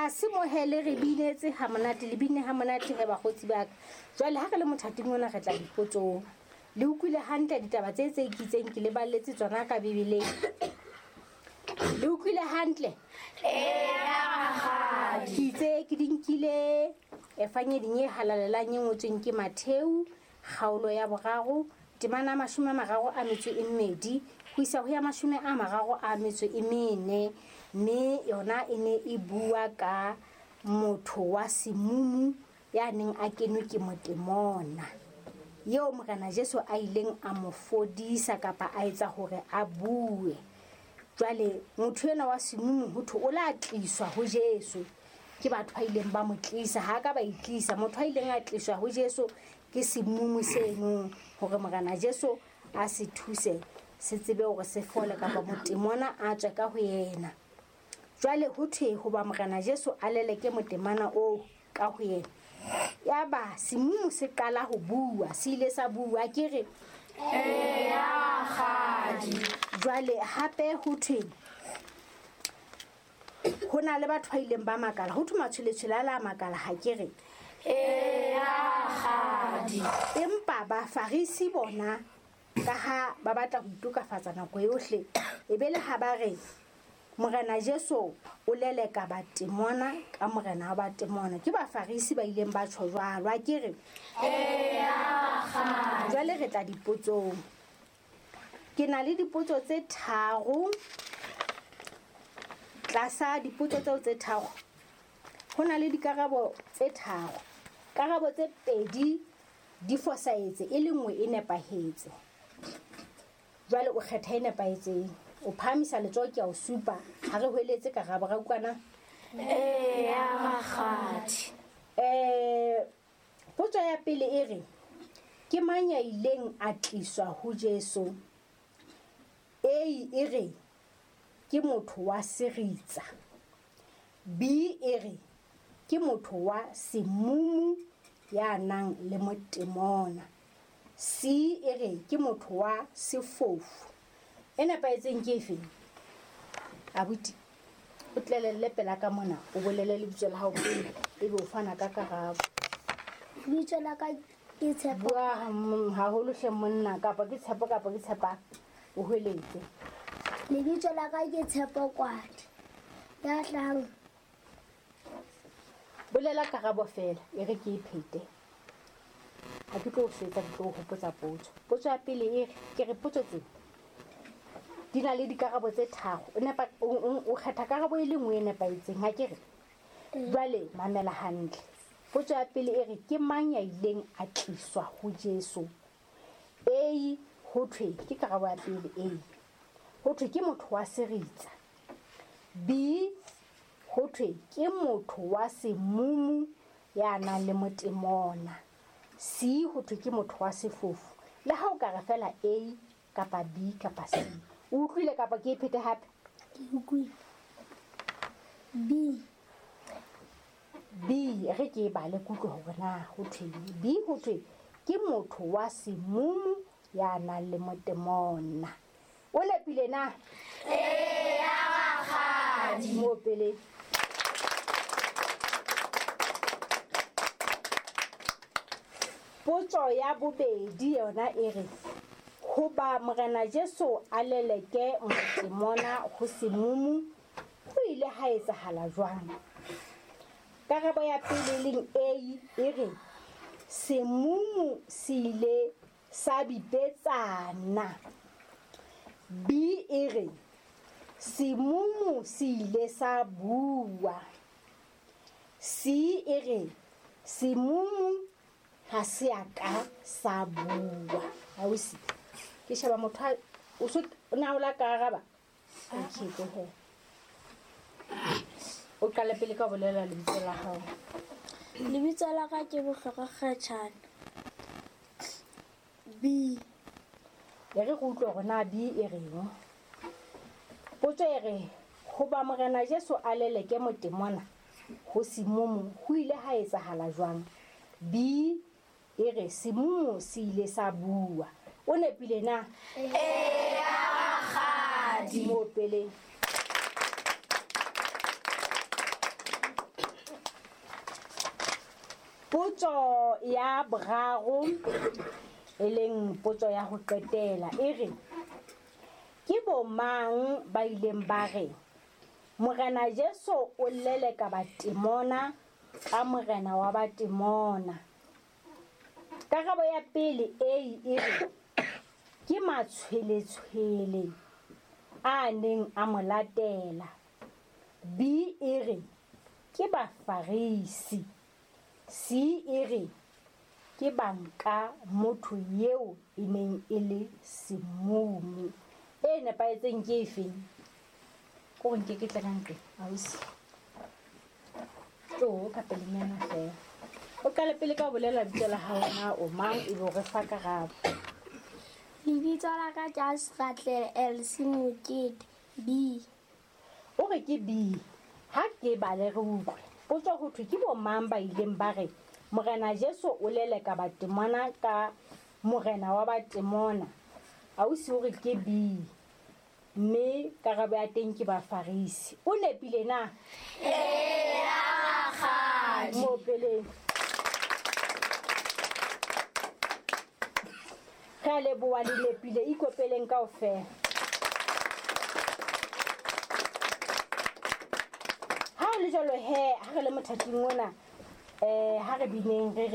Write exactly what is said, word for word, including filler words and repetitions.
Tlase mohele re binetse ha monate le bine ha monate he bakgotsi ba ka. Jwale ha re le mothating ona re tla dipotsong. Le utlwile hantle ditaba tse tse ikitseng ke le balletse tsona ka Bibeleng. Le utlwile hantle? Eya rakgadi. Ke itse ke di nkile efangeding e halalelang e ngotsweng ke Matheu kgaolo ya boraro temana mashome a mararo a metso e mmedi ho isa ho ya mashome a mararo a metso e mene, mme yona e ne e bua ka motho wa semumu ya neng a kenwe ke motemona eo Morena Jesu a ileng a mo fodisa kapa a etsa hore a bue. Jwale motho enwa wa semumu ho thwe o la tliswa ho Jesu ke batho ba ileng ba mo tlisa, ha ka ba itlisa. Motho a ileng a tliswa ho Jesu ke semumu seno hore Morena Jesu a se thuse se tsebe hore se fole kapa motemona a tswe ka ho yena. Jwale ho thwe hoba Morena Jesu a leleke motemana oo ka ho yena, yaba semumu se qala ho bua, se ile sa bua ke re eya rakgadi. Jwale hape ho thwe ho na le batho ba ileng ba makala, ho thwe matshweletshwele a la makala ha ke re eya rakgadi. Empa bafarisi bona ka ha ba batla ho itokafatsa nako yohle, e be le ha ba re Morena Jesu o leleka batemona ka morena wa batemona. Ke bafarisi ba ileng ba tjho jwalo, a ke re eya rakgadi. Jwale re tla dipotsong. Ke na le dipotso tse tharo. Tlasa dipotso tseo tse tharo ho na le dikarabo tse tharo. Karabo tse pedi di fosahetse, e le nngwe e nepahetse. Jwale o kgetha e nepahetseng, o phahamisa letsoho ke a o supa, ha re hweletse karabo ra utlwana. Eya rakgadi. Eh, potso ya pele e re ke mang ya ileng a tliswa ho Jesu? A e re ke motho wa seritsa. B e re ke motho wa semumu ya nang le motemona. C e re ke motho wa sefofu. E nepahetseng ke efe? Abuti, o tlelelle pela ka mona, o bolele lebitso la hao pele ebe o fana ka karabo. Lebitso la ka ke Tshepo. Bua haholo hle monna, kapa ke Tshepo kapa ke Tshepa, o hweletse. Lebitso la ka ke Tshepo Kwadi. Ya hlahang. Bolela karabo fela, e re ke e phete. Ha ke tlo o swetsa, ke tlo o hopotsa potso. Potso ya pele e re, ke re potso tse di na le dikarabo tse tharo. O nepa, o, o kgetha karabo e le nngwe e nepahetseng, ha ke re? Jwale mamela hantle. Potso ya pele e re ke mang ya ileng a tliswa ho Jesu? A ho thwe ke karabo ya pele A. Ho thwe ke motho wa seritsa. B ho thwe ke motho wa semumu ya nang le motemona. C ho thwe ke motho wa sefofu. Le ha o ka re fela A kapa B kapa C. O utlwile kapa ke e phete hape? Ke utlwile. B. B re ke e bale kutlwe hore na ho thweng. B ho thwe ke motho wa semumu ya nang le motemona. O nepile na? Eya rakgadi. Mo pele. Potso ya bobedi yona e re hoba Morena Jesu a leleke motemona ho semumu ho ile ha etsahala jwang? Karabo ya pele leng A e re semumu se ile sa bipetsana. B e re semumu se ile sa bua. C e re semumu ha se a ka sa bua. Ausi, ke sheba motho a o so na o la ka araba. Okay, go ahead. O qale pele ka bolela lebitso la hao. Lebitso la ka ke Bohlokwa Kgatjhane. B. E re go utlwe hore na B e reng. Potso e re hoba Morena Jesu a leleke motemona ho semumu ho ile ha etsahala jwang? B e re semumu se ile sa bua. O nepile na? Eya rakgadi. Mo pele. Potso ya boraro e leng potso ya ho qetela e re ke bo mang ba ileng ba re Morena Jesu o leleka batemona ka morena wa batemona? Karabo ya pele A e re ke matshweletshwele a neng a mo latela. B e re ke Bafarisi. C e re ke banka motho eo e neng e le semumu. E nepahetseng ke efeng? Ko nke ke tla ka ntle ausi. Tlo ka pelenyana fela. O qale pele ka ho bolela lebitso la hao na o mang ebe o re fa karabo. Lebitso la ka ke Asratle Elsie Mokete. B. O re ke B. Ha ke bale re utlwe. Potso ho thwe ke bo mang ba ileng ba re Morena Jesu o leleka batemona ka morena wa batemona? Ausi o re ke B. Mme karabo ya teng ke Bafarisi. O nepile na? Eya rakgadi. Mo peleng. Re a leboha le nepile, ikopeleng kaofela. Ha o le jwalo he, ha re le mothating ona, eh ha re bineng re